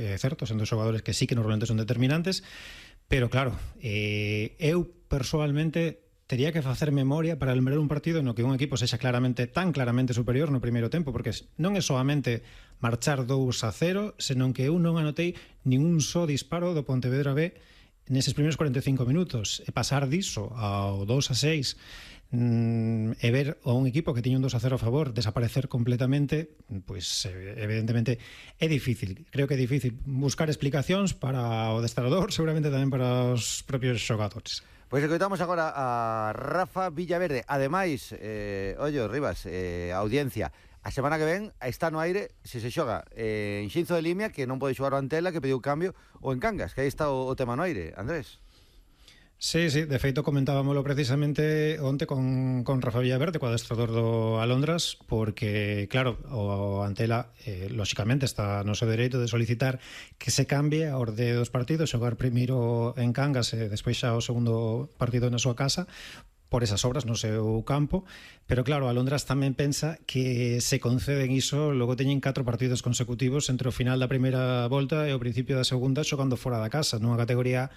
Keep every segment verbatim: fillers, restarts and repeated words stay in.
é certo, sendo xogadores que sí que normalmente son determinantes, pero claro, eh, eu persoalmente tería que facer memoria para lembrar un partido no que un equipo sexa claramente tan claramente superior no primeiro tempo, porque non é solamente marchar dous a cero, senón que eu non anotei ningún só disparo do Pontevedra B neses primeiros cuarenta e cinco minutos, e pasar diso ao dous a seis mm, e ver a un equipo que tiña un dos a cero a favor desaparecer completamente, pois evidentemente é difícil. Creo que é difícil buscar explicacións para o adestrador, seguramente tamén para os propios xogadores. Pois escoitamos agora a Rafa Villaverde. Ademais, eh, ollo, Rivas, eh, audiencia, a semana que ven está no aire se se xoga eh, en Xinzo de Limia, que non pode xogar o Antela, que pediu cambio, ou en Cangas, que aí está o, o tema no aire. Andrés. Sí, sí, de feito comentábamoslo precisamente onte con, con Rafa Villaverde, co adestrador do Alondras, porque, claro, o Antela eh, lóxicamente está no seu dereito de solicitar que se cambie a orde dos partidos, xogar primeiro en Cangas e despois xa o segundo partido na súa casa, por esas obras no seu campo, pero claro, Alondras tamén pensa que se conceden iso, logo teñen catro partidos consecutivos entre o final da primeira volta e o principio da segunda xogando fora da casa, nunha categoría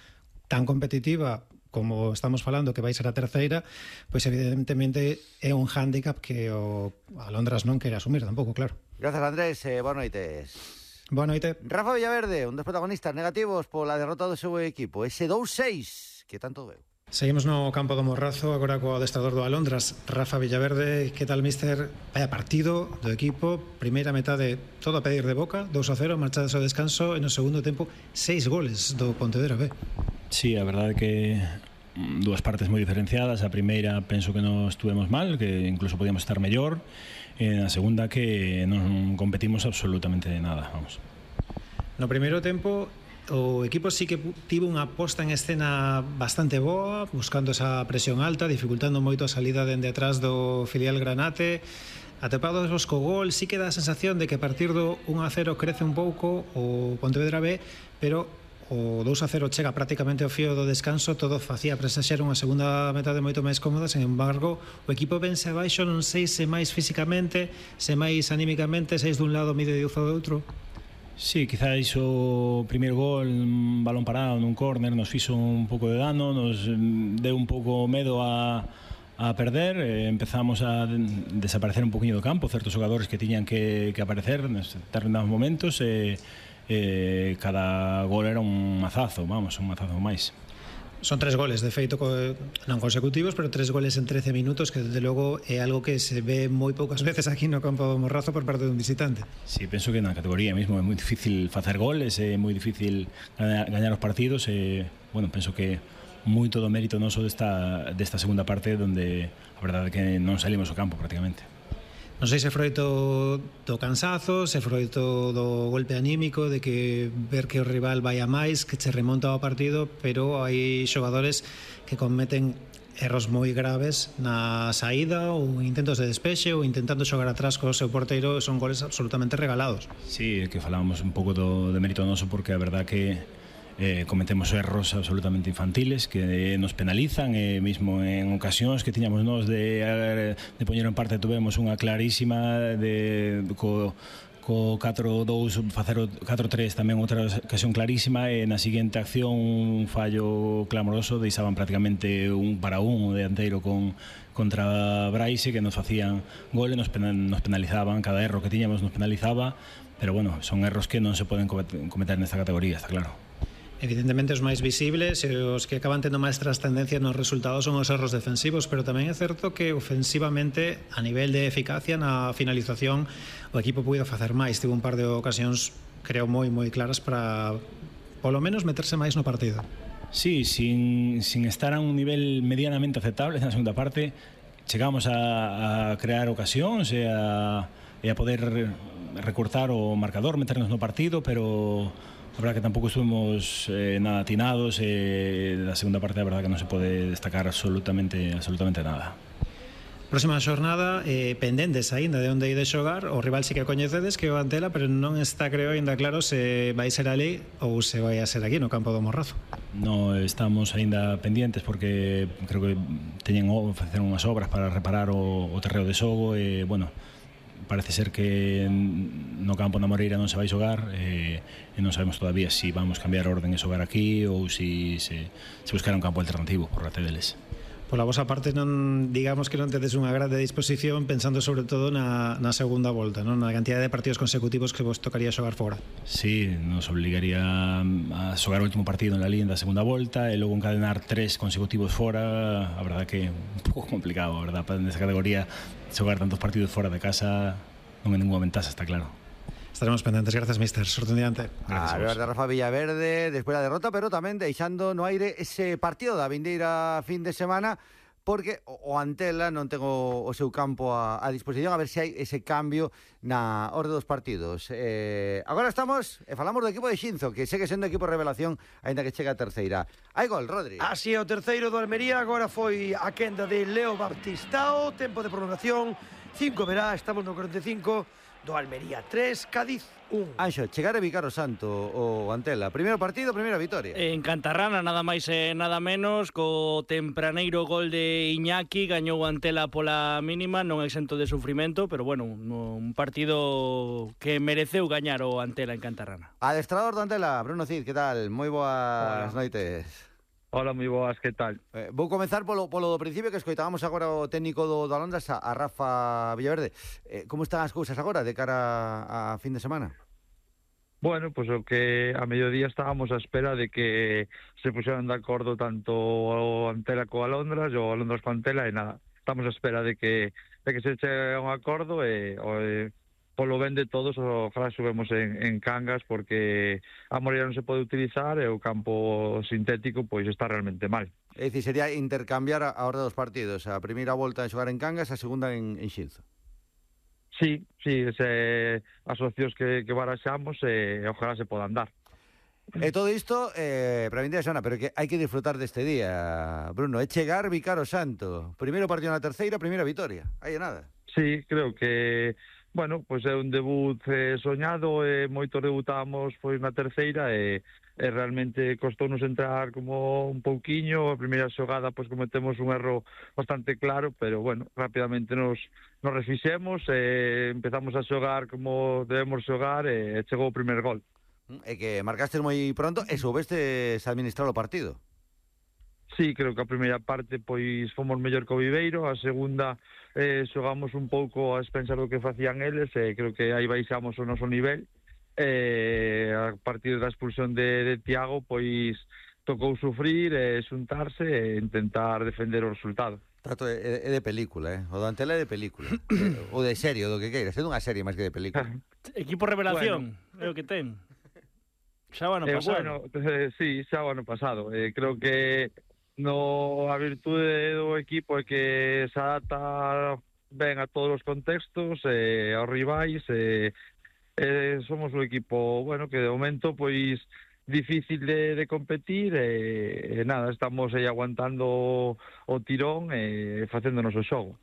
tan competitiva como estamos falando que vai ser a terceira, pois evidentemente é un hándicap que o Alondras non quere asumir tampouco, claro. Grazas, Andrés, eh, boa noites. Boa noite. Rafa Villaverde, un dos protagonistas negativos pola derrota do seu equipo, ese dous seis que tanto veu. Seguimos no campo do Morrazo, agora co adestrador do Alondras, Rafa Villaverde. Que tal, mister? Vaya partido do equipo, primeira metade todo a pedir de boca, dous a cero, marchadas ao descanso, e no segundo tempo seis goles do Pontevedra B. Sí, a verdade é que dúas partes moi diferenciadas. A primeira penso que non estuvemos mal, que incluso podíamos estar mellor, e na segunda que non competimos absolutamente nada, vamos. No primeiro tempo o equipo sí que tivo unha posta en escena bastante boa, buscando esa presión alta, dificultando moito a salida dende atrás do filial Granate. Atepados os co gol, sí que dá a sensación de que a partir do un a cero crece un pouco o Pontevedra B, pero o dous a cero chega prácticamente ao fío do descanso, todo facía presaxar unha segunda metade moito máis cómoda. Sen embargo, o equipo vence abaixo, non sei se máis físicamente, se máis anímicamente, seis dun lado, mide de do outro. Sí, quizás o primeiro gol, un balón parado nun córner, nos fixo un pouco de dano, nos deu un pouco medo a, a perder, eh, empezamos a desaparecer un poquinho do campo, certos xogadores que tiñan que, que aparecer nos determinados momentos, e eh, cada gol era un mazazo, vamos, un mazazo máis. Son tres goles, de feito, non consecutivos, pero tres goles en trece minutos, que desde logo é algo que se ve moi poucas veces aquí no campo do Morrazo por parte dun visitante. Sí, penso que na categoría mesmo é moi difícil facer goles, é moi difícil gañar, gañar os partidos, e, bueno, penso que moito do mérito noso desta, desta segunda parte, onde a verdade é que non salimos ao campo prácticamente. Non sei se froito do cansazo, se froito do golpe anímico, de que ver que o rival vai a máis, que che remonta ao partido, pero hai xogadores que cometen erros moi graves na saída ou intentos de despexe ou intentando xogar atrás co seu porteiro, son goles absolutamente regalados. Sí, que falábamos un pouco do, de mérito noso, porque a verdad que eh, cometemos erros absolutamente infantiles que nos penalizan, e mesmo en ocasións que tiñamos nós de, de poñer en parte tuvemos unha clarísima de, co, co catro dous facer o catro tres tamén outra ocasión clarísima, e na seguinte acción un fallo clamoroso, deixaban prácticamente un para un o dianteiro con contra Braise, que nos facían gol e nos, pen, nos penalizaban, cada erro que tiñamos nos penalizaba, pero bueno, son erros que non se poden cometer nesta categoría, está claro. Evidentemente os máis visibles e os que acaban tendo máis trascendencia nos resultados son os erros defensivos, pero tamén é certo que ofensivamente, a nivel de eficacia na finalización, o equipo puido facer máis. Tivo un par de ocasións, creo, moi moi claras para polo menos meterse máis no partido. Sí, sin, sin estar a un nivel medianamente aceptable na segunda parte, chegamos a, a crear ocasións e a, e a poder recortar o marcador, meternos no partido, pero a verdad que tampouco estuvimos eh, nada atinados, e eh, da segunda parte a verdad que non se pode destacar absolutamente absolutamente nada. Próxima xornada, eh, pendentes aínda de onde ide xogar, o rival sí que coñecedes, que é o Antela, pero non está, creo, aínda claro se vai ser ali ou se vai a ser aquí no campo do Morrazo. No, estamos aínda pendientes porque creo que teñen facer unhas obras para reparar o, o terreo de xogo, e, bueno, parece ser que no campo na Moreira non se vai xogar, e, e non sabemos todavía se si vamos cambiar a orden e xogar aquí ou se si, se, se buscar un campo alternativo por parte deles. Pola vosa parte, non digamos que non tedes unha grande disposición pensando sobre todo na, na segunda volta, non? Na cantidad de partidos consecutivos que vos tocaría xogar fora. Sí, nos obligaría a xogar o último partido en la Liga da segunda volta e logo encadenar tres consecutivos fora. A verdad que un pouco complicado, a verdad, para nesa categoría xogar tantos partidos fora de casa non é ninguna ventaxa, está claro. Estaremos pendentes. Gracias, mister. Sorte un diante. A ver, de Rafa Villaverde despois da derrota, pero tamén deixando no aire ese partido da vindeira fin de semana, porque o Antela non ten o, o seu campo a, a disposición, a ver se hai ese cambio na orde dos partidos. Eh, agora estamos, e falamos do equipo de Xinzo, que segue sendo equipo revelación, aínda que chega a terceira. Hai gol, Rodri. Así é, o terceiro do Almería, agora foi a quenda de Leo Baptistao, tempo de prolongación, cinco verá, estamos no cuarenta e cinco, do Almería tres, Cádiz un. Anxo, chegar a Vicar o Santo o Antela, primeiro partido, primeira vitoria. En Cantarrana, nada máis e nada menos, co tempraneiro gol de Iñaki, gañou o Antela pola mínima, non exento de sufrimento, pero bueno, un partido que mereceu gañar o Antela en Cantarrana. Adestrador do Antela, Bruno Cid, que tal? Moi boas Hola. noites. Hola, moi boas, que tal? Eh, vou comenzar polo, polo do principio, que escoitábamos agora o técnico do, do Alondras, a, a Rafa Villaverde. Eh, como están as cousas agora de cara a, a fin de semana? Bueno, pues o que a mediodía estábamos a espera de que se puxeran de acordo tanto o Antela co Alondras, o Alondras co Antela, e nada, estamos a espera de que de que se chegue a un acordo e, o, e polo ben de todos, ojalá subemos en, en Cangas, porque a Moreira non se pode utilizar e o campo sintético pois está realmente mal. É dicir, sería intercambiar a, a orde dos partidos, a primeira volta en xogar en Cangas, a segunda en, en Xinzo. Sí, sí, ese, as opcións que, que baraxamos, e ojalá se podan dar. E todo isto eh, para a vindeira semana, pero que hai que disfrutar deste día, Bruno, é chegar Vicar o Santo, primeiro partido na terceira, primeira vitoria, aí é nada. Sí, creo que, bueno, pois é un debut eh, soñado, e moitos debutamos pois na terceira, e, e realmente costounos entrar como un pouquiño. A primeira xogada pois cometemos un erro bastante claro, pero bueno, rapidamente nos, nos refixemos, e empezamos a xogar como debemos xogar, e chegou o primer gol. É que marcastes moi pronto e soubestes administrar o partido. Sí, creo que a primeira parte pois fomos mellor que o Viveiro, a segunda eh, xogamos un pouco a expensas do que facían eles, e creo que aí baixamos o noso nivel. Eh, a partir da expulsión de, de Tiago, pois tocou sufrir, e xuntarse e intentar defender o resultado. Trato é, é de película, eh? O do Antela é de película. eh, ou de serie, o do que queiras, é dunha serie máis que de película. Equipo revelación, bueno, é o que ten. Xa o ano Eh, pasado. bueno, eh, sí, xa o ano pasado. Eh, creo que no a virtude do equipo é que se adapta ben a todos os contextos, eh, aos rivais, e eh, somos un equipo, bueno, que de momento pois difícil de, de competir, e, e nada, estamos aí aguantando o tirón e facéndonos o xogo.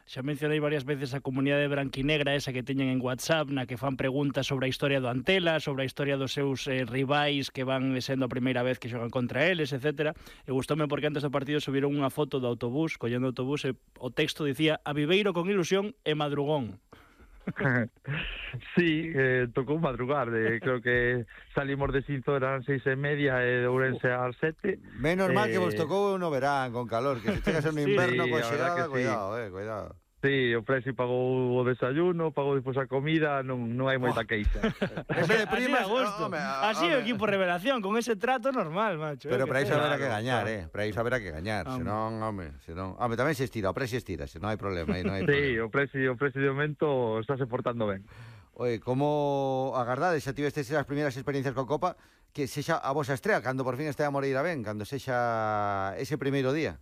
Xa mencionei varias veces a comunidade branquinegra esa que teñen en WhatsApp, na que fan preguntas sobre a historia do Antela, sobre a historia dos seus eh, rivais que van sendo a primeira vez que xogan contra eles, etcétera. E gustoume porque antes do partido subiron unha foto do autobús, collendo o autobús, e o texto dicía: a Viveiro con ilusión e madrugón. Sí, eh, tocou madrugar, de, creo que salimos de Xinzo, eran seis e media, e de Ourense ás sete. Menos mal eh... que vos tocou no verán, con calor, que se chegas en un Sí, inverno, coa a verdad xerada, que sí. cuidado, eh, cuidado. Sí, o Presi pagou o desayuno, pagou despois a comida, non, non hai moita queixa. En vez de primas, así a gusto. home, Así é o home. equipo revelación, con ese trato normal, macho. Pero eh, para que iso ten. haberá que Claro, gañar, claro. eh. Para iso haberá que gañar, Home. senón, home, senón, home, tamén se estira, o Presi estira, se non hai problema, aí non hai Sí, problema. o Presi, o Presi de momento estáse portando ben. Oye, como agardades, xa tivestes as primeiras experiencias coa Copa, que sexa a vosa estrela, cando por fin este a Moreira ben, cando sexa ese primeiro día?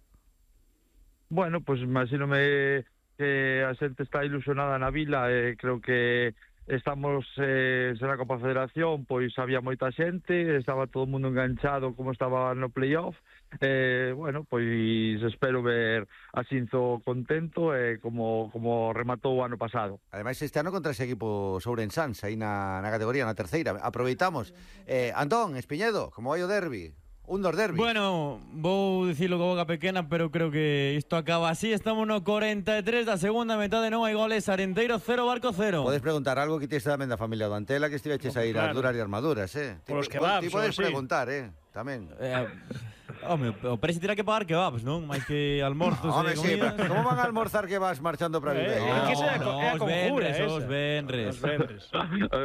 Bueno, pois pues, imagínome que a xente está ilusionada na vila, e creo que estamos eh, na Copa Federación, pois había moita xente, estaba todo o mundo enganchado como estaba no playoff. Eh, bueno, pois espero ver a Xinzo contento, e eh, como, como rematou o ano pasado. Ademais, este ano contra ese equipo Sourensans, aí na, na categoría, na terceira. Aproveitamos. Eh, Antón, Espiñedo, como vai o derbi? un dos derbis. Bueno, vou dicilo con boca pequena, pero creo que isto acaba así. Estamos no cuarenta e tres da segunda metade, non hai goles. Arenteiro cero, Barco cero. Podes preguntar algo que tienes tamén da familia do Antela, que estiveches a ir claro. a duras e armaduras, eh? Por os Ti- kebabs, Ti podes sí. preguntar, eh? Tamén. Eh, home, o Presi terá que pagar kebabs, non? Mais que almorzos Home, e sí, comidas. pero ¿cómo van a almorzar que vas marchando para Eh, Viveiro? é que esa é a co- é a os conjura venres, esa. os venres. Os venres.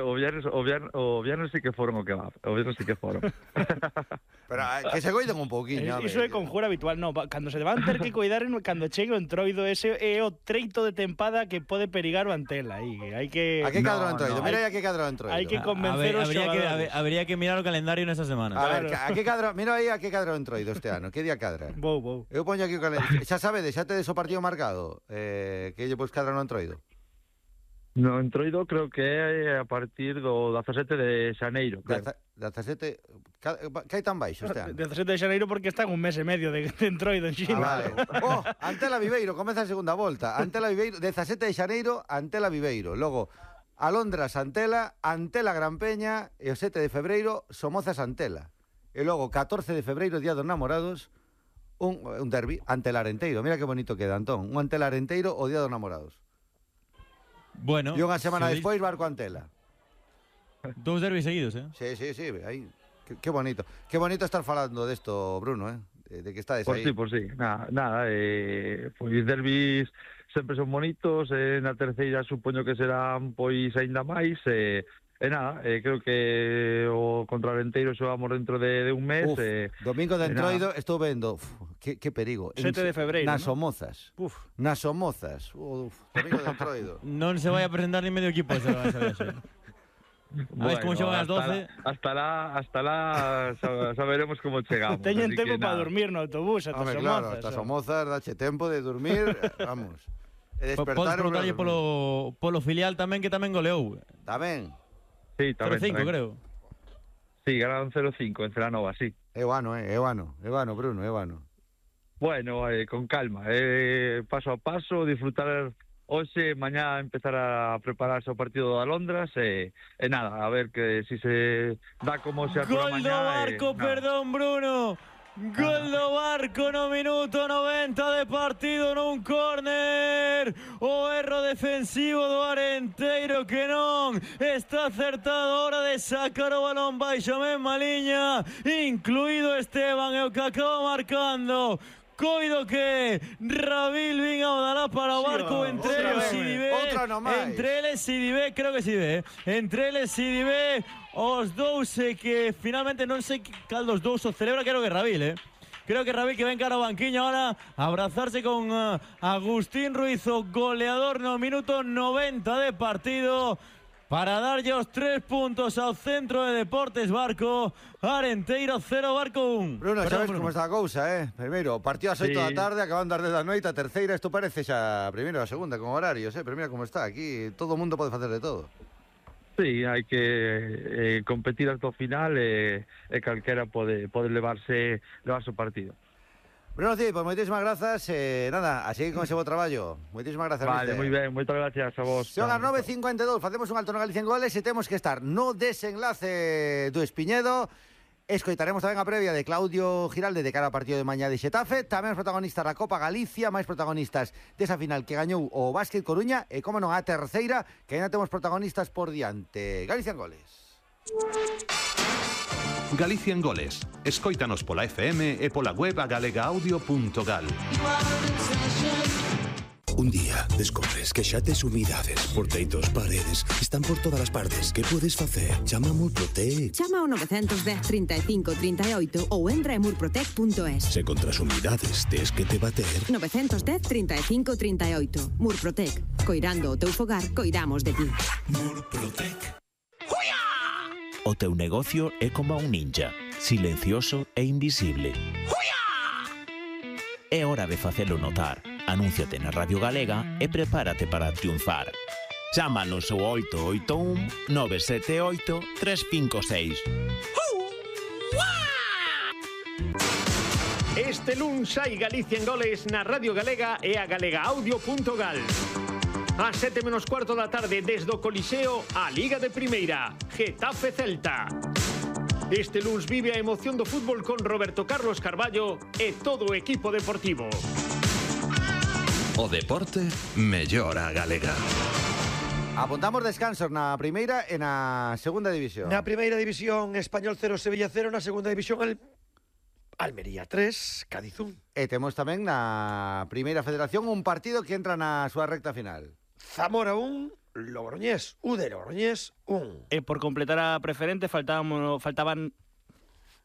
O viernes, o viernes, o viernes sí que foron o kebab. O viernes sí que foron. Pero eh, que se coiden un pouquiño. Iso é conjura habitual, non, va- cando se van ter que cuidar en- cando chegue o entroido, ese é o treito de tempada que pode perigar o Antela aí, hai que A que cadro No, entroido? no. Mira aí a que cadro entroido. Hai que A- convencer a ver, os habría que, xogadores. habe- habría que mirar o calendario nesta semana. A ver, Claro. a que cadro, mira aí a que cadro entroido este ano. Que día cadra? Vou, vou. Eu poño aquí o calendario. Xa sabedes, xa tedes o partido marcado. Eh, que lle pois cadra no entroido. No entroido creo que é a partir do dezasete de xaneiro, creo. dezasete, ca- que hai tan baixo este ano? dezasete de xaneiro porque está en un mes e medio de, de entroido en Ah, China. vale. Oh, Antela Viveiro, comeza a segunda volta. Antela Viveiro, dezasete de xaneiro, Antela Viveiro. Logo, Alondras Antela, Antela Gran Peña e o sete de febreiro, Somozas Antela. E logo, catorce de febreiro, Día dos Namorados, un, un derbi, Antela Arenteiro. Mira que bonito queda, Antón. Un Antela Arenteiro o Día dos Namorados. Bueno, E unha semana se despois, Barco Antela. dis- dous derbis seguidos, eh? Sí, sí, sí, aí. Qué, qué bonito. Qué bonito estar falando desto, Bruno, eh? De, de que estades Por aí. sí, por sí. Nada, nada eh, pois derbis sempre son bonitos, eh, na terceira supoño que serán pois aínda máis, eh, e nada, eh, creo que o contra Arenteiro xogamos dentro de, de un mes. Uf, eh, domingo de e entroido, estou vendo, uf, que, que perigo. En sete de febreiro, Nas ¿no? Somozas. Uf. Nas Somozas. Uf, domingo de entroido. Non se vai a presentar ni medio equipo esa, esa viaxe. A ver como xogan as doce. Hasta la, hasta la, hasta la saberemos como chegamos. Teñen así que tempo para nada. dormir no autobús, ata Home, Somozas. claro, hasta o- Somozas, dache tempo de dormir, vamos. E Po- despertar Podes e preguntarlle volver a dormir. polo, polo filial tamén, que tamén goleou. Tamén. Sí, cero tamén, cinco, tamén. creo. Sí, ganaron cero cinco en Celanova, sí. É vano, eh, é vano, é vano, Bruno, é vano. Bueno, eh, con calma, eh, paso a paso, disfrutar hoxe, mañá empezar a prepararse o partido de Alondras e, e nada, a ver que si se dá como se apura Gol do mañá. Barco, eh, nada. perdón, Bruno. Gol do Barco no minuto noventa de partido nun córner. O erro defensivo do Arenteiro que non está acertado a hora de sacar o balón baixo a mesma liña, incluído Esteban, e o que acaba marcando. Coido que Rabil vin ao dará para o Barco, entre outra eles vez, Sidibé, outra no máis. entre eles Sidibé, creo que Sidibé, entre eles Sidibé, os dous e que finalmente non sei cal dos dous o celebra, creo que Rabil, eh? Creo que Rabil que ven cara ao banquiño ahora a abrazarse con uh, Agustín Ruiz, o goleador no minuto noventa de partido, para darlle os tres puntos ao Centro de Deportes Barco. Arenteiro cero, Barco un. Bruno, Perdón, sabes Bruno. como está a cousa, eh? Primeiro, partido ás oito Sí. da tarde, acaban das dez da noite, a terceira, isto parece xa a primeira ou a segunda, con horarios, eh? Pero mira como está, aquí todo o mundo pode facer de todo. Sí, hai que eh, competir hasta o final e, e calquera pode, pode levarse, levarse o partido. Bruno Cid, pues moitísimas grazas, eh, nada, a seguir con ese bo traballo. Moitísimas grazas, Vale, mister. moi ben, moitas gracias a vos. Son as nove e cincuenta e dous, facemos un alto no Galicia en goles e temos que estar no desenlace do Espiñedo. Escoitaremos tamén a previa de Claudio Giralde de cara ao partido de mañá de Xetafe. Tamén os protagonistas da Copa Galicia, máis protagonistas desa final que gañou o Básquet Coruña e, como non, a terceira, que ainda temos protagonistas por diante. Galicia en goles. Galicia en goles. Escóitanos pola F M e pola web a galega audio punto gal. Un día descobres que xa tes humidades, porteitos, paredes, están por todas as partes. Que podes facer? Chama a Murprotec. Chama ao nove un cero, trinta e cinco, trinta e oito ou entra en murprotec punto es. Se contra as humidades tes que te bater. nove un cero, trinta e cinco, trinta e oito. Murprotec. Coirando o teu fogar, coidamos de ti. Murprotec. O teu negocio é como un ninja, silencioso e invisible. É hora de facelo notar. Anúnciate na Radio Galega e prepárate para triunfar. Chámanos ao oito oito un, nove sete oito, tres cinco seis. Este luns hai Galicia en goles na Radio Galega e a galega audio punto gal. A sete menos cuarto da tarde desde o Coliseo, a Liga de Primeira, Getafe Celta. Este luns vive a emoción do fútbol con Roberto Carlos Carballo e todo o equipo deportivo. O deporte mellora a galega. Apuntamos descansos na primeira e na segunda división. Na primeira división, Español cero, Sevilla cero. Na segunda división, Al... Almería tres, Cádiz un. E temos tamén na primeira federación un partido que entra na súa recta final. Zamora un, Logroñés, U de Logroñés un. E por completar a preferente faltaban, faltaban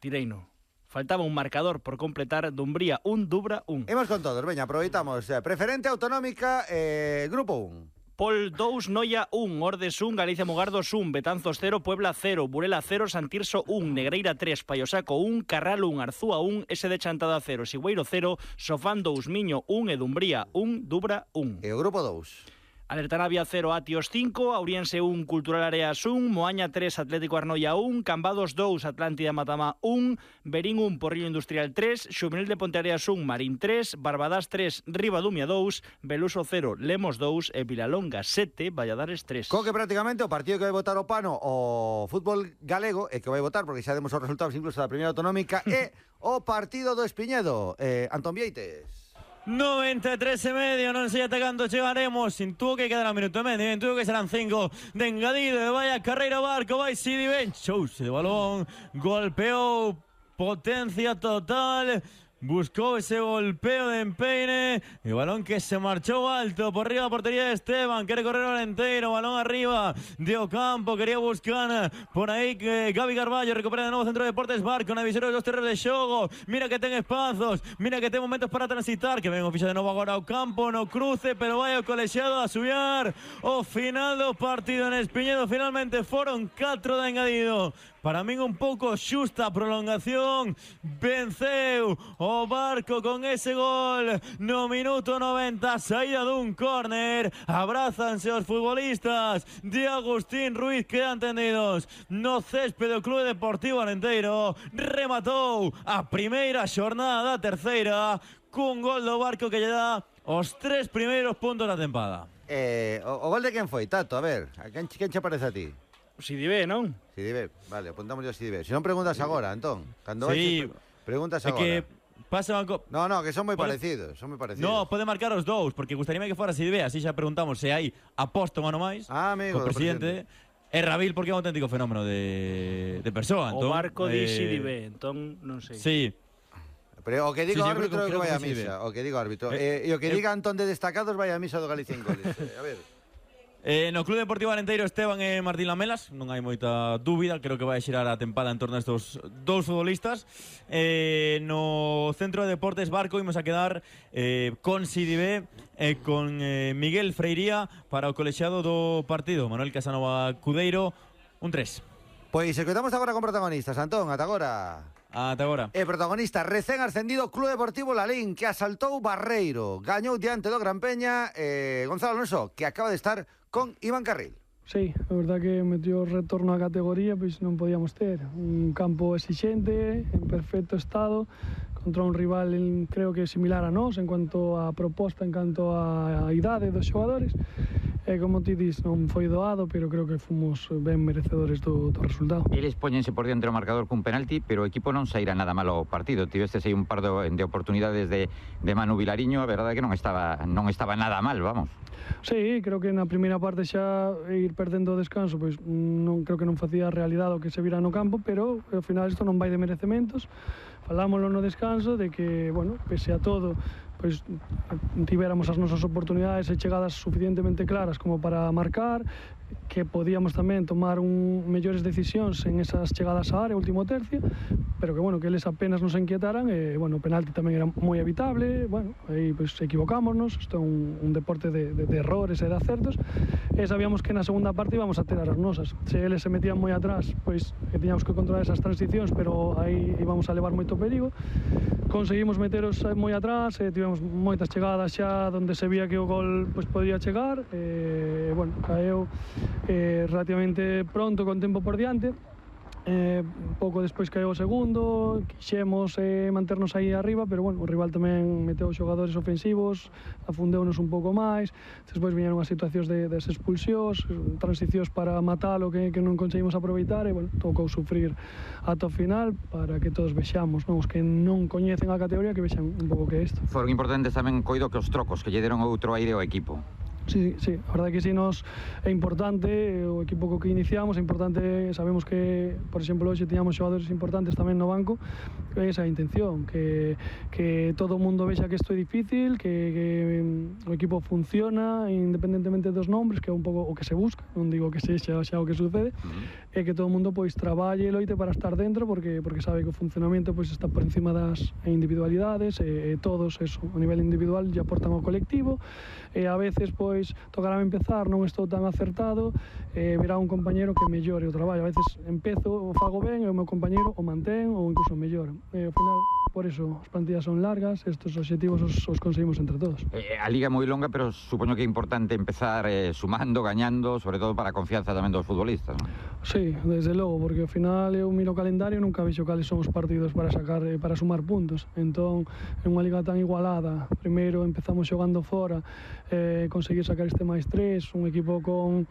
Tireino. Faltaba un marcador por completar. Dumbría un, Dubra un. Imos con todos, veña, aproveitamos. Preferente autonómica, eh, grupo un. Pol dous, Noia un, Ordes un, Galicia Mugardos un, Betanzos cero, Puebla cero, Burela cero, Santirso un, Negreira tres, Paiosaco un, Carral un, Arzúa un, S de Chantada cero, Sigüeiro cero, Sofán dous, Miño un e Dumbría un, Dubra un. E o grupo dous. Alerta Navia cero, Atios cinco, Auriense un, Cultural Areas un, Moaña tres, Atlético Arnoia un, Cambados dos, Atlántida Matamá un, Berín un, Porriño Industrial tres, Xuvenil de Ponteareas un, Marín tres, Barbadás tres, Ribadumia dos, Beluso cero, Lemos dos e Vilalonga sete, Valladares tres. Co que prácticamente o partido que vai votar o Pano o fútbol galego e que vai votar, porque xa demos os resultados incluso da primeira autonómica, é o partido do Espiñedo. Eh, Antón Vieites. noventa e tres e medio, non sei ata cando chegaremos. Intuo que quedará un minuto e medio, intuo que serán cinco de engadido. E vaya carreira Barco, vai Sidi Ben, chouse de balón, golpeou, potencia total, buscou ese golpeo de empeine e o balón que se marchou alto por riba da portería de Esteban, quere correr o Alenteiro, balón arriba de Ocampo, quería buscar por aí que Gabi Carballo recupera de novo Centro de Deportes Barco na visera dos terreos de xogo, mira que ten espazos, mira que ten momentos para transitar, que ven o ficha de novo agora ao campo, no cruce, pero vai o colexiado a subiar o final do partido en Espiñedo. Finalmente foron catro de engadido. Para min un pouco xusta prolongación, venceu o Barco con ese gol no minuto noventa, saída dun córner, abrázanse os futbolistas de Agustín Ruiz, quedan tendidos no céspede do Clube Deportivo Alenteiro, rematou a primeira xornada da terceira cun gol do Barco que lle dá os tres primeiros puntos da tempada. Eh, o, o gol de quen foi, Tato? A ver, a quen, quen che parece a ti? Sidibe, non? Sidibe, vale, apuntamos yo a Sidibe. Se non preguntas agora, Antón. Cando sí, vais, preguntas agora. É que pasa banco... No, no, que son moi pode... parecidos, son moi parecidos. No, pode marcar os dous, porque gustaríame que fora Sidibe, así xa preguntamos se hai aposta un ano máis. Ah, amigo, co presidente. E Rabil, porque é un auténtico fenómeno de, de persoa, Antón. O Barco di eh... Sidibe, entón non sei. Sí. Pero o que digo sí, sí, árbitro é que, que vai a misa. O que digo árbitro. Eh, eh, e o que eh, diga Antón de destacados vai a misa do Galicia en goles. eh, a ver. Eh, no Club Deportivo Alenteiro, Esteban e Martín Lamelas, non hai moita dúbida, creo que vai xirar a tempada en torno a estos dous futbolistas. Eh, no Centro de Deportes Barco imos a quedar eh, con Sidibe e eh, con eh, Miguel Freiría para o colexiado do partido. Manuel Casanova Cudeiro, un tres. Pois se quedamos agora con protagonistas, Antón, ata agora. Ata agora. E protagonista, recén ascendido Club Deportivo Lalín, que asaltou Barreiro, gañou diante do Gran Peña, eh, Gonzalo Alonso, que acaba de estar con Iván Carril. Sí, a verdad que metió o retorno á categoría, pois non podíamos ter un campo exixente, en perfecto estado, contra un rival en, creo que similar a nós en cuanto a proposta, en cuanto a idade dos xogadores. E como ti dis, non foi doado, pero creo que fomos ben merecedores do, do resultado. Eles póñense por diante o marcador cun penalti, pero o equipo non saíra nada malo o partido. Tivestes aí un par de, de oportunidades de, de Manu Vilariño, a verdade é que non estaba, non estaba nada mal, vamos. Sí, creo que na primeira parte xa ir perdendo o descanso, pois non creo que non facía a realidade o que se vira no campo, pero ao final isto non vai de merecementos. Falámoslo no descanso de que, bueno, pese a todo, pois tivéramos as nosas oportunidades e chegadas suficientemente claras como para marcar, que podíamos tamén tomar un mellores decisións en esas chegadas á área, último tercio, pero que, bueno, que eles apenas nos inquietaran e, bueno, o penalti tamén era moi evitable, bueno, aí, pois, equivocámonos, isto é un, un deporte de, de, de errores e de acertos, e sabíamos que na segunda parte íbamos a ter as nosas. Se eles se metían moi atrás, pois, que tiñamos que controlar esas transicións, pero aí íbamos a levar moito perigo. Conseguimos meteros moi atrás, e tivemos moitas chegadas xa onde se vía que o gol, pois, podría chegar, e, bueno, caeu eh, relativamente pronto, con tempo por diante, Eh, pouco despois caeu o segundo, quixemos eh, manternos aí arriba, pero bueno, o rival tamén meteu xogadores ofensivos, afundeunos un pouco máis, despois viñeron as situacións de, des expulsións, transicións para matalo que, que non conseguimos aproveitar e bueno, tocou sufrir ata o final para que todos vexamos, non? Os que non coñecen a categoría que vexan un pouco que é isto. Foron importantes tamén, coido, que os trocos que lle deron outro aire ao equipo. Sí, sí, a verdade que sí nos é importante, o equipo co que iniciamos é importante, sabemos que, por exemplo, hoxe tiñamos xogadores importantes tamén no banco, que esa é a intención, que, que todo o mundo vexa que isto é difícil, que, que o equipo funciona independentemente dos nombres, que é un pouco o que se busca, non digo que sexa xa o que sucede, uh-huh. e que todo o mundo pois traballe e loite para estar dentro, porque porque sabe que o funcionamento pois está por encima das individualidades, e, e todos eso, a nivel individual lle aportan ao colectivo, e a veces pois Pois tocarame empezar, non estou tan acertado, eh, verá un compañero que mellore o traballo. A veces empezo, o fago ben, e o meu compañero o mantén ou incluso mellora. E ao final, por eso, as plantillas son largas, estes obxectivos os, os conseguimos entre todos. Eh, a liga é moi longa, pero supoño que é importante empezar eh, sumando, gañando, sobre todo para a confianza tamén dos futbolistas, non? Sí, desde logo, porque ao final eu miro o calendario e nunca vexo cales son os partidos para sacar, eh, para sumar puntos. Entón, é unha liga tan igualada. Primeiro empezamos xogando fora, eh, conseguir sacar este máis tres, un equipo con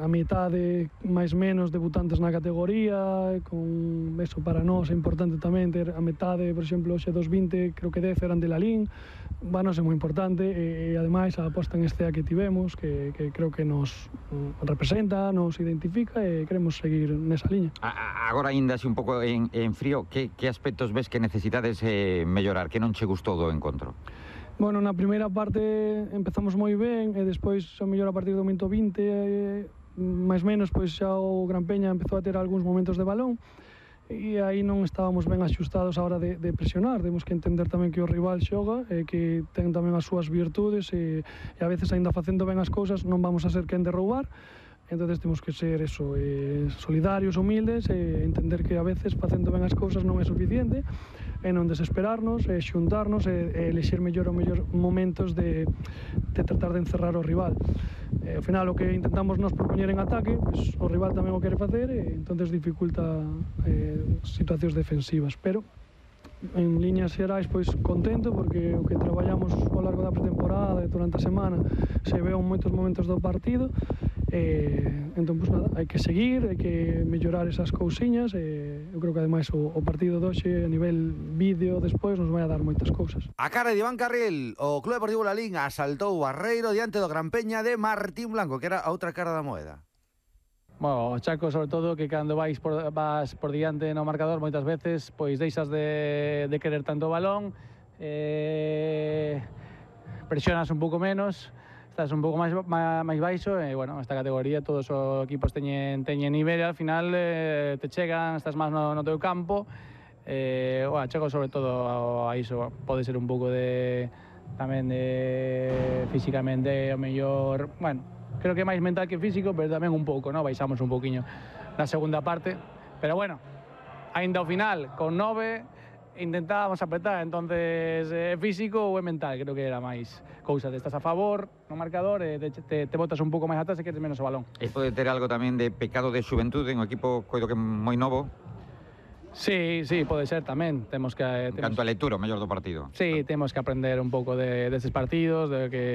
a metade máis menos debutantes na categoría, con eso para nós é importante tamén ter a metade, por exemplo, hoxe dos vinte, creo que dez eran de Lalín, bueno, é moi importante, e, e ademais a aposta en Estea que tivemos, que, que creo que nos representa, nos identifica e queremos seguir nesa liña. A, agora ainda así un pouco en, en frío, que, que aspectos ves que necesitades eh, mellorar, que non che gustou do encontro? Bueno, na primeira parte empezamos moi ben e despois xa mellor a partir do momento vinte, eh, máis menos, pois xa o Gran Peña empezou a ter algúns momentos de balón e aí non estábamos ben axustados a hora de, de presionar. Temos que entender tamén que o rival xoga e que ten tamén as súas virtudes e, e a veces aínda facendo ben as cousas non vamos a ser quen de roubar. Entonces temos que ser eso, eh, solidarios, humildes e entender que a veces facendo ben as cousas non é suficiente e non desesperarnos, e xuntarnos e, e elexir mellor o mellor momentos de, de tratar de encerrar o rival. E, ao final o que intentamos nos propoñer en ataque, pues, o rival tamén o quere facer e entonces dificulta eh, situacións defensivas, pero en líneas xerais pois contento porque o que traballamos ao largo da pretemporada e durante a semana se veo en moitos momentos do partido. Eh, entón, pues nada, hai que seguir, hai que mellorar esas cousiñas e eu creo que ademais o, o partido de hoxe a nivel vídeo despois nos vai a dar moitas cousas. A cara de Iván Carril, o Club Deportivo Lalín asaltou o Barreiro diante do Gran Peña de Martín Blanco, que era a outra cara da moeda. Bueno, Chaco, sobre todo, que cando vais por, vas por diante no marcador moitas veces, pois deixas de, de querer tanto o balón, eh, presionas un pouco menos, estás un pouco máis, máis baixo e, bueno, esta categoría todos os equipos teñen, teñen nivel e al final eh, te chegan, estás máis no, no teu campo. Eh, bueno, Chaco, sobre todo, a iso pode ser un pouco de tamén de físicamente o mellor, bueno, creo que máis mental que físico, pero tamén un pouco, ¿no? Baixamos un pouquiño na segunda parte, pero bueno, ainda ao final, con nove, intentábamos apretar, entonces é eh, físico ou é mental, creo que era máis cousa de estás a favor no marcador e te, te, te botas un pouco máis atrás e queres menos o balón. E pode ter algo tamén de pecado de xuventude en un equipo coido que moi novo? Sí, sí, pode ser tamén. Temos que eh, en canto a lectura, o mellor do partido. Sí, temos que aprender un pouco de deses de partidos, de que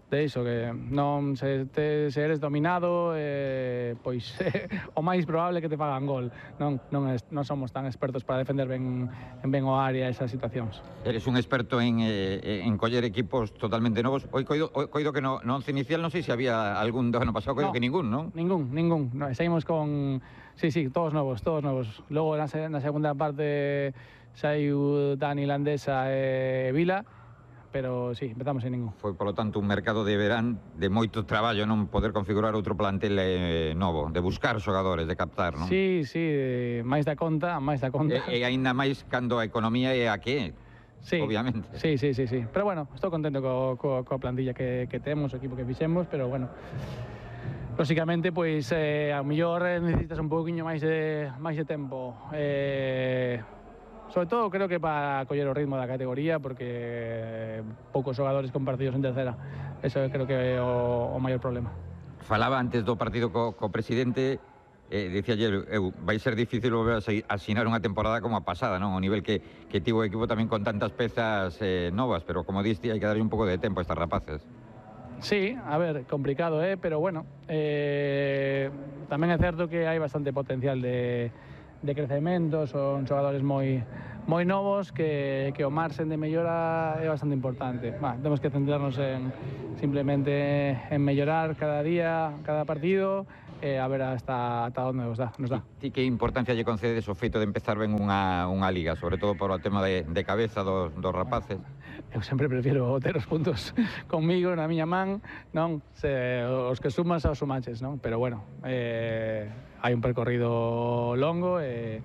de iso, que non se, te, se eres dominado, eh, pois eh, o máis probable que te fagan gol. Non, non, es, non somos tan expertos para defender ben, en ben o área esas situacións. Eres un experto en, eh, en coller equipos totalmente novos. Oi, coido, coido que no, no once inicial non sei se había algún do ano pasado, coido no, que ningún, non? Ningún, ningún. No, seguimos con... Sí, sí, todos novos, todos novos. Logo na, na segunda parte saiu Dani Landesa e Vila, pero sí, empezamos en ningún. Foi, polo tanto, un mercado de verán de moito traballo non poder configurar outro plantel eh, novo, de buscar xogadores, de captar, non? Sí, sí, máis da conta, máis da conta. E, e aínda máis cando a economía é a que é, sí, obviamente. Sí, sí, sí, sí. Pero bueno, estou contento co, co, coa plantilla que, que temos, o equipo que fixemos, pero bueno, lógicamente, pois, eh, a mellor necesitas un pouquiño máis de, máis de tempo. Eh, sobre todo, creo que para coller o ritmo da categoría, porque poucos xogadores compartidos en tercera. Eso creo que é o, o maior problema. Falaba antes do partido co, co presidente, eh, dicía eu, eu, vai ser difícil volver a asinar unha temporada como a pasada, non? O nivel que, que tivo o equipo tamén con tantas pezas eh, novas, pero como diste, hai que darlle un pouco de tempo a estas rapaces. Sí, a ver, complicado, eh, pero bueno, eh, tamén é certo que hai bastante potencial de, de crecemento, son xogadores moi moi novos que, que o marxen de mellora é bastante importante. Bah, temos que centrarnos en simplemente en mellorar cada día, cada partido, e a ver hasta, hasta onde nos dá. Nos dá. Ti que importancia lle concedes o feito de empezar ben unha, unha liga, sobre todo por o tema de, de cabeza dos, dos rapaces? Eu sempre prefiero ter os puntos conmigo na miña man, non? Se, os que sumas aos sumanches, non? Pero bueno, eh, hai un percorrido longo e,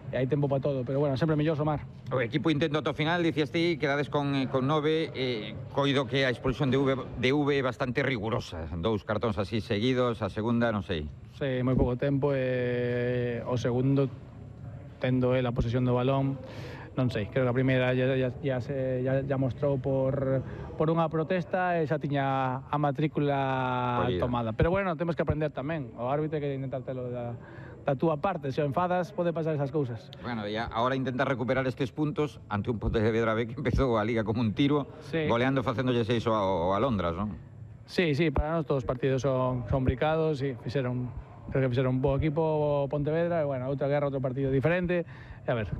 e hai tempo para todo, pero bueno, sempre mellor somar. O equipo intento ata o final, dicías ti, quedades con, con nove, eh, coido que a expulsión de V, de V é bastante rigurosa, dous cartóns así seguidos, a segunda non sei. Sí, moi pouco tempo e o segundo, tendo el a posesión do balón, non sei, creo que a primeira ya, ya, ya, se, ya, ya mostrou por, por unha protesta e xa tiña a matrícula Oye. tomada. Pero bueno, temos que aprender tamén, o árbitro que intentar telo da, da túa parte, se o enfadas pode pasar esas cousas. Bueno, e agora intenta recuperar estes puntos ante un Pontevedra B que empezou a liga como un tiro, sí. goleando facéndolle seis ao Alondras, non? Sí, sí, para nós todos os partidos son, son bricados e fixeron, creo que fixeron un bo equipo Pontevedra e bueno, outra guerra, outro partido diferente, e a ver.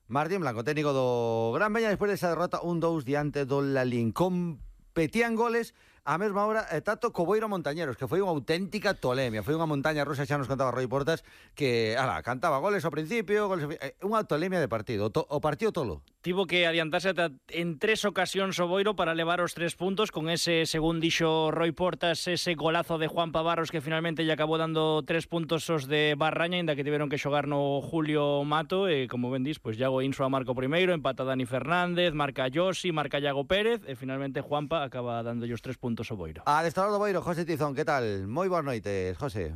Martín Blanco, técnico do Gran Veña, despois desa derrota un dous diante do Lalín. Competían goles a mesma hora e Tato Coboiro Montañeros, que foi unha auténtica tolemia, foi unha montaña rusa, xa nos contaba Roy Portas, que, ala, cantaba goles ao principio, goles ao... unha tolemia de partido, o, to, o partido tolo. Tivo que adiantarse en tres ocasións o Boiro para levar os tres puntos con ese, según dixo Roy Portas, ese golazo de Juan Pavarros que finalmente lle acabou dando tres puntos os de Barraña, ainda que tiveron que xogar no Julio Mato, e como ben dis, pois Iago Insua marca o primeiro, empata Dani Fernández, marca Yosi, marca Iago Pérez, e finalmente Juanpa acaba dándolle os tres puntos ao Boiro. Adestrador do Boiro, José Tizón, que tal? Moi boas noites, José.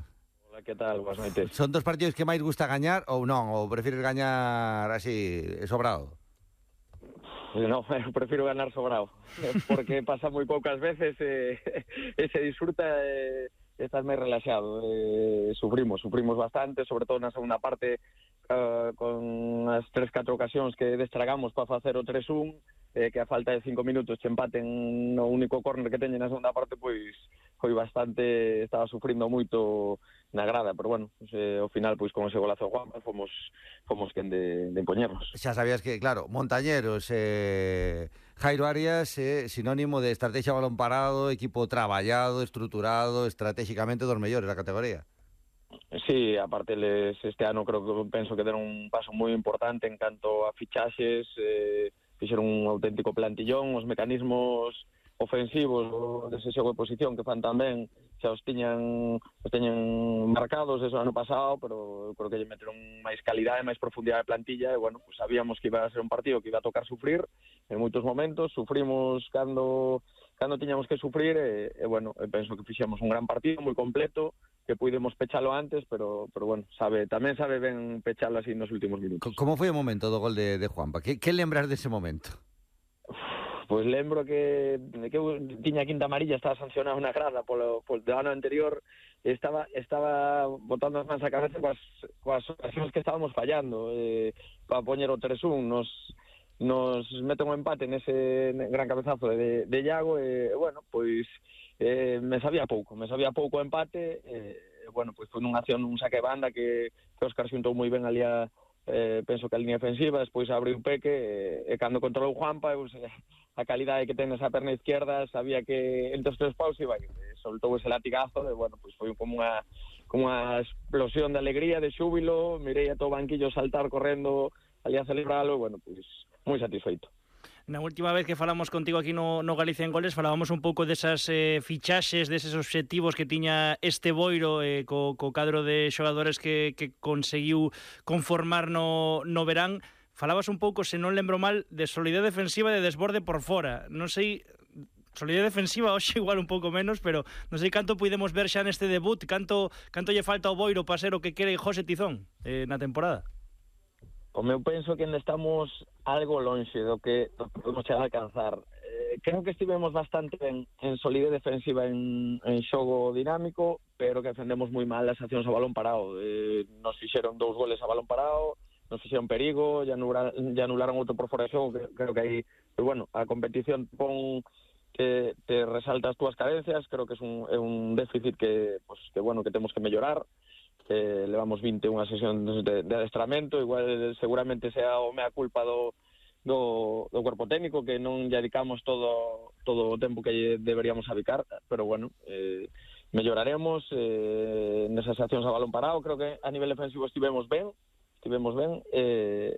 Hola, que tal? Boas noites. Son dos partidos que máis gusta gañar ou non? Ou prefires gañar así, sobrado? No, eu prefiro ganar sobrado, porque pasa moi poucas veces e, e se disfruta e estás máis relaxado. E, sufrimos, sufrimos bastante, sobre todo na segunda parte, uh, con as tres, catro ocasións que destragamos para facer o tres un, eh, que a falta de cinco minutos che empaten no único córner que teñen na segunda parte, pois foi bastante, estaba sufrindo moito na grada, pero bueno, pues, eh, ao final, pois con ese golazo de Juan, fomos, fomos quen de, de impoñernos. Xa sabías que, claro, Montañeros, eh, Jairo Arias, eh, sinónimo de estrategia balón parado, equipo traballado, estruturado, estratégicamente dos mellores da categoría. Sí, aparte les, este ano creo que penso que deron un paso moi importante en canto a fichaxes, eh, fixeron un auténtico plantillón, os mecanismos ofensivos dese xogo de posición que fan tamén xa os tiñan os tiñan marcados eso ano pasado, pero eu creo que lle meteron máis calidade, máis profundidade de plantilla e bueno, pues sabíamos que iba a ser un partido que iba a tocar sufrir en moitos momentos, sufrimos cando cando tiñamos que sufrir e, e bueno, eu penso que fixemos un gran partido moi completo, que puidemos pechalo antes, pero pero bueno, sabe, tamén sabe ben pechalo así nos últimos minutos. Como foi o momento do gol de, de Juanpa? Que, que lembras dese momento? Pois lembro que, que tiña quinta amarilla, estaba sancionado na grada polo, polo ano anterior, estaba estaba botando as mans a cabeza coas, coas ocasións que estábamos fallando eh, para poñer o tres un, nos nos mete un empate nese gran cabezazo de, de Iago e, bueno, pois eh, me sabía pouco, me sabía pouco o empate e, bueno, pois foi nunha acción, un saque de banda que, que Óscar xuntou moi ben ali a Eh, penso que a línea defensiva, despois abriu Peque e, e cando controlou Juanpa, pues, eh, a calidade que ten esa perna izquierda, sabía que entre os tres paus iba, e soltou ese latigazo e, bueno, pues foi como unha como unha explosión de alegría, de xúbilo, mirei a todo o banquillo saltar correndo ali a celebralo, e, bueno, pues moi satisfeito. Na última vez que falamos contigo aquí no, no Galicia en Goles falábamos un pouco desas eh, fichaxes, deses obxectivos que tiña este Boiro eh, co, co cadro de xogadores que, que conseguiu conformar no, no verán. Falabas un pouco, se non lembro mal, de solidez defensiva e de desborde por fora. Non sei, solidez defensiva hoxe igual un pouco menos, pero non sei canto podemos ver xa neste debut, canto, canto lle falta ao Boiro para ser o que quere José Tizón eh, na temporada. Como eu penso que ainda estamos algo lonxe do que podemos chegar a alcanzar. Eh, creo que estivemos bastante ben en solidez defensiva en, en xogo dinámico, pero que defendemos moi mal as accións a balón parado. Eh, nos fixeron dous goles a balón parado, nos fixeron perigo, ya anularon, ya anularon outro por fora de xogo, que, creo que aí, pero bueno, a competición pon que te resalta as túas carencias, creo que é un, é un déficit que, pues, que, bueno, que temos que mellorar. Eh, levamos vinte e unha sesións de, de adestramento, igual seguramente sea o mea culpa do Do, do cuerpo técnico, que non lle dedicamos todo todo o tempo que deberíamos dedicar, pero bueno, eh, melloraremos eh, nesas accións a balón parado. Creo que a nivel defensivo estivemos ben, estivemos ben, eh,